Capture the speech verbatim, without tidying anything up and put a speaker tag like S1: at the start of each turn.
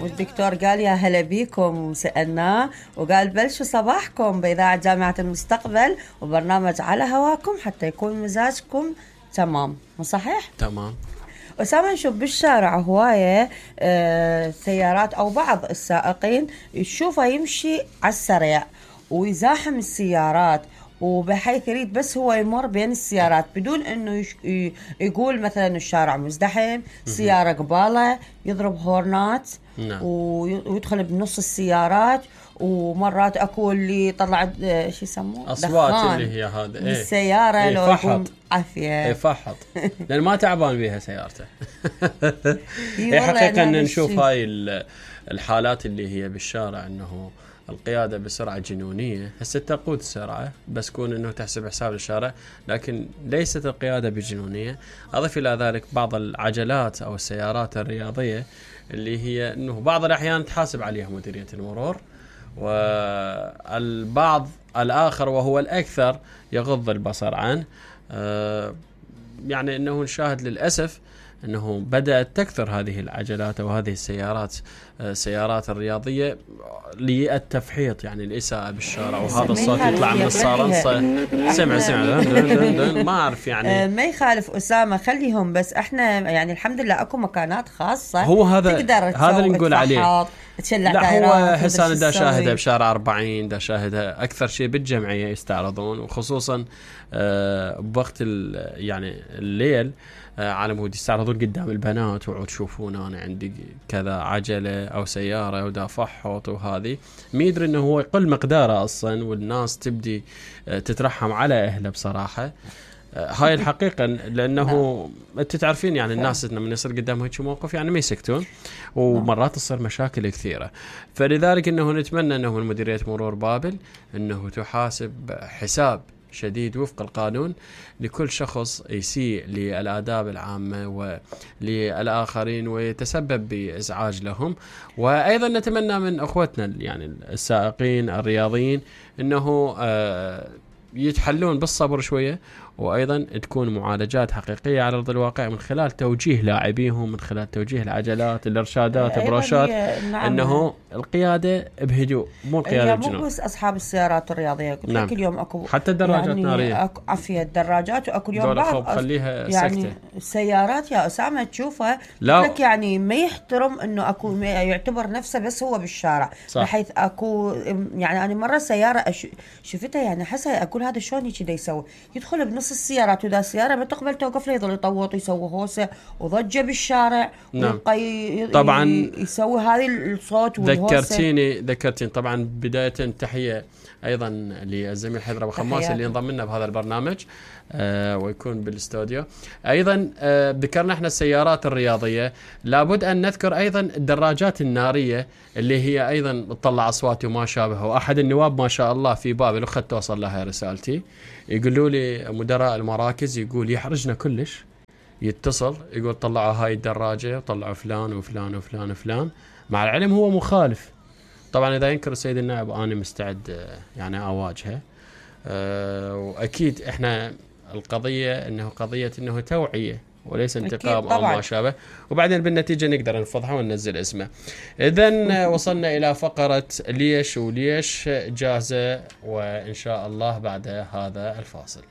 S1: والدكتور قال يا هلا بيكم، وسألناه وقال بلشوا صباحكم بإذاعة جامعة المستقبل وبرنامج على هواكم حتى يكون مزاجكم تمام. مو صحيح؟
S2: تمام.
S1: أسامة نشوف بالشارع هواية آه سيارات أو بعض السائقين يشوفه يمشي على السريع ويزاحم السيارات، وبحيث يريد بس هو يمر بين السيارات بدون انه يش... يقول مثلا الشارع مزدحم، سيارة قباله يضرب هورنات.
S2: نعم.
S1: ويدخل بنص السيارات، ومرات اكو اللي طلعت شو يسموه
S2: اصوات اللي هي هذا
S1: ايه السيارة ايه لو يكون عافية
S2: يفحط لان ما تعبان بيها سيارته. هي حقيقة ان نشوف هاي الحالات اللي هي بالشارع انه القيادة بسرعة جنونية. هسه تقود السرعة بس كون انه تحسب حساب الشارع، لكن ليست القيادة بجنونية. اضف الى ذلك بعض العجلات او السيارات الرياضية اللي هي انه بعض الاحيان تحاسب عليها مديرية المرور، والبعض الاخر وهو الاكثر يغض البصر عنه. أه يعني انه نشاهد للأسف انه بدأت تكثر هذه العجلات او هذه السيارات السيارات الرياضية للتفحيط، يعني الإساءة بالشارع، وهذا الصوت يطلع من الصالنصة. سمع سمع ما أعرف يعني
S1: ما يخالف أسامة، خليهم بس احنا يعني الحمد لله اكو مكانات خاصة
S2: هو هذا هذا اللي نقول عليه.
S1: لا
S2: هو هسه دا شاهدها بشارع أربعين، دا شاهدها أكثر شيء بالجمعية يستعرضون، وخصوصا آه بوقت يعني الليل آه على مود يستعرضون قدام البنات، وعود تشوفون أنا عندي كذا عجلة أو سيارة ودا فحوط، وهذه ما يدري إنه هو يقل مقداره أصلا، والناس تبدي آه تترحم على أهله بصراحة. هاي الحقيقة لأنه أنت تعرفين يعني الناس لما يصير قدامهم هيك موقف يعني ما يسكتون، ومرات تصير مشاكل كثيرة. فلذلك أنه نتمنى أنه من مديرية مرور بابل أنه تحاسب حساب شديد وفق القانون لكل شخص يسيء للآداب العامة وللآخرين ويتسبب بإزعاج لهم. وأيضا نتمنى من أخوتنا يعني السائقين الرياضيين أنه آه يتحلون بالصبر شوية، وأيضا تكون معالجات حقيقية على أرض الواقع من خلال توجيه لاعبيهم، من خلال توجيه العجلات، الإرشادات، البروشات. نعم. أنه القيادة بهدوء، مو القيادة بجنون.
S1: مو بس أصحاب السيارات الرياضية، قلت
S2: نعم.
S1: لك اليوم أكو
S2: حتى الدراجات
S1: يعني
S2: نارية،
S1: أكو عفية الدراجات، وأكو اليوم بعض
S2: خليها
S1: يعني
S2: سكتة.
S1: السيارات يا أسامة تشوفها لك يعني ما يحترم إنه أكو يعتبر نفسه بس هو بالشارع. صح. بحيث أكو يعني أنا مرة سيارة أش... شفتها يعني حسها أقول هذا شلون كذا يسوي، يدخل بنص السيارات وذا السيارة ما تقبل توقف له، يظل يطوط يسوي هوسة وضجة بالشارع.
S2: نعم.
S1: ويبقى
S2: طبعا
S1: يسوي هذه الصوت والهوسة.
S2: ذكرتيني ذكرتين طبعا بداية تحية أيضا للزميل حيدر أبو خماس اللي انضم لنا بهذا البرنامج آه ويكون بالاستوديو. أيضا آه ذكرنا احنا السيارات الرياضية، لابد أن نذكر أيضا الدراجات النارية اللي هي أيضا تطلع أصوات وما شابه. وأحد النواب ما شاء الله في بابل وخد توصل لها رسالتي، يقولوا لي مدراء المراكز يقول يحرجنا كلش، يتصل يقول طلعوا هاي الدراجة وطلعوا فلان وفلان وفلان وفلان، مع العلم هو مخالف. طبعا إذا ينكر السيد النائب أنا مستعد يعني أواجهه. أه وأكيد إحنا القضية إنه قضية إنه توعية وليس انتقام أو ما شابه، وبعدين بالنتيجة نقدر نفضحه وننزل اسمه. إذن وصلنا إلى فقرة ليش وليش جاهزة، وإن شاء الله بعد هذا الفاصل.